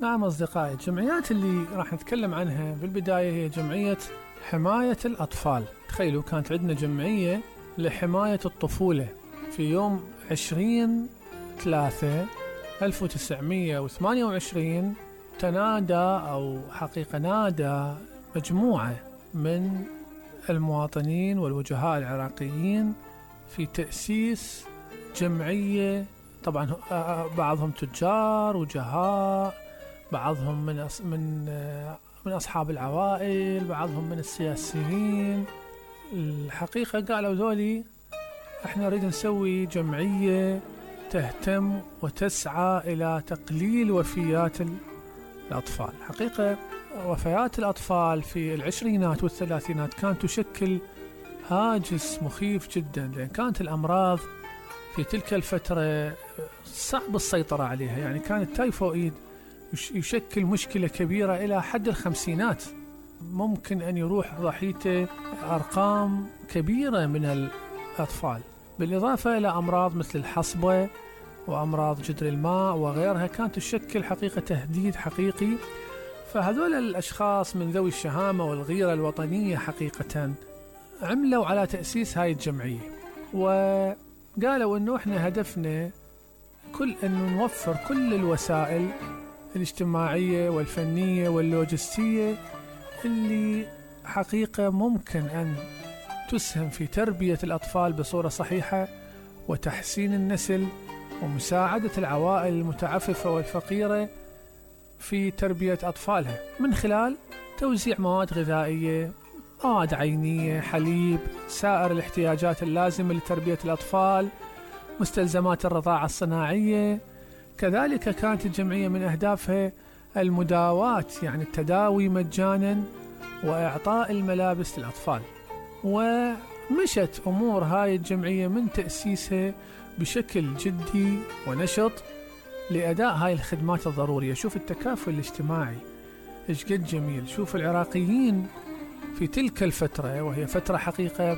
نعم أصدقائي، الجمعيات اللي راح نتكلم عنها بالبداية هي جمعية حماية الأطفال. تخيلوا كانت عندنا جمعية لحماية الطفولة في يوم 20/3/1928. تنادى أو حقيقة نادى مجموعة من المواطنين والوجهاء العراقيين في تأسيس جمعية. طبعا بعضهم تجار وجهاء، بعضهم من أصحاب العوائل، بعضهم من السياسيين. الحقيقة قالوا ذولي احنا نريد نسوي جمعية تهتم وتسعى إلى تقليل وفيات الأطفال. حقيقة وفيات الأطفال في العشرينات والثلاثينات كانت تشكل هاجس مخيف جدا، لأن كانت الأمراض في تلك الفترة صعب السيطرة عليها. يعني كان التايفوئيد يشكل مشكلة كبيرة إلى حد الخمسينات، ممكن أن يروح ضحيته أرقام كبيرة من الأطفال، بالإضافة إلى أمراض مثل الحصبة وأمراض جدر الماء وغيرها كانت تشكل حقيقة تهديد حقيقي. فهذول الأشخاص من ذوي الشهامة والغيرة الوطنية حقيقة عملوا على تأسيس هاي الجمعية، وقالوا أنه إحنا هدفنا أنه نوفر كل الوسائل الاجتماعية والفنية واللوجستية اللي حقيقة ممكن أن تسهم في تربية الأطفال بصورة صحيحة وتحسين النسل ومساعدة العوائل المتعففة والفقيرة في تربية أطفالها من خلال توزيع مواد غذائية، مواد عينية، حليب، سائر الاحتياجات اللازمة لتربية الأطفال، مستلزمات الرضاعة الصناعية. كذلك كانت الجمعية من أهدافها المداواة، يعني التداوي مجانا وإعطاء الملابس للأطفال. ومشت أمور هاي الجمعية من تأسيسها بشكل جدي ونشط لأداء هاي الخدمات الضرورية. شوف التكافل الاجتماعي إيش قد جميل. شوف العراقيين في تلك الفترة، وهي فترة حقيقة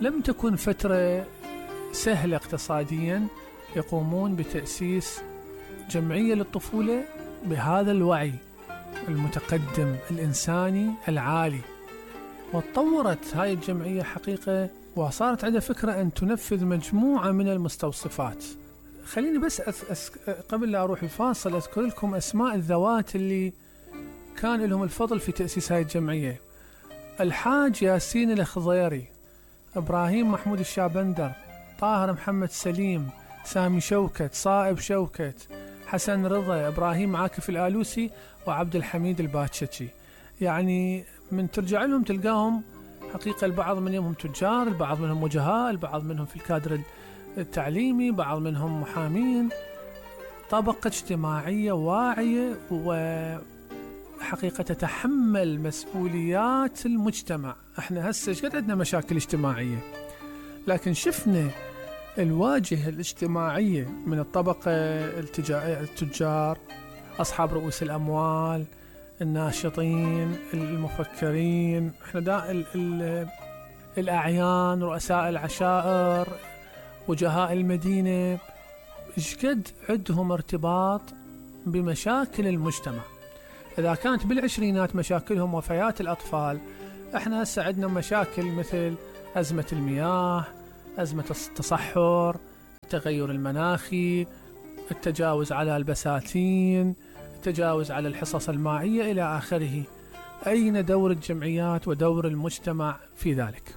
لم تكن فترة سهلة اقتصاديا، يقومون بتأسيس جمعية للطفولة بهذا الوعي المتقدم الإنساني العالي. وتطورت هاي الجمعية حقيقة وصارت عندها فكرة أن تنفذ مجموعة من المستوصفات. خليني بس قبل لا أروح الفاصل أذكر لكم أسماء الذوات اللي كان لهم الفضل في تأسيس هاي الجمعية: الحاج ياسين الخضيري، إبراهيم محمود الشابندر، طاهر محمد سليم، سامي شوكت، صائب شوكت، حسن رضا، إبراهيم عاكف الآلوسي، وعبد الحميد الباتشتشي. يعني من ترجع لهم تلقاهم حقيقة البعض منهم تجار، البعض منهم وجهاء، البعض منهم في الكادر التعليمي، بعض منهم محامين، طبقة اجتماعية واعية وحقيقة تتحمل مسؤوليات المجتمع. احنا هسه قد عندنا مشاكل اجتماعية، لكن شفنا الواجهة الاجتماعية من الطبقة التجار، أصحاب رؤوس الأموال، الناشطين، المفكرين، احنا الأعيان، رؤساء العشائر، وجهاء المدينة، ايش قد عندهم ارتباط بمشاكل المجتمع. إذا كانت بالعشرينات مشاكلهم وفيات الأطفال، احنا هسه عندنا مشاكل مثل أزمة المياه، أزمة التصحر، التغير المناخي، التجاوز على البساتين، التجاوز على الحصص المائية إلى آخره. أين دور الجمعيات ودور المجتمع في ذلك؟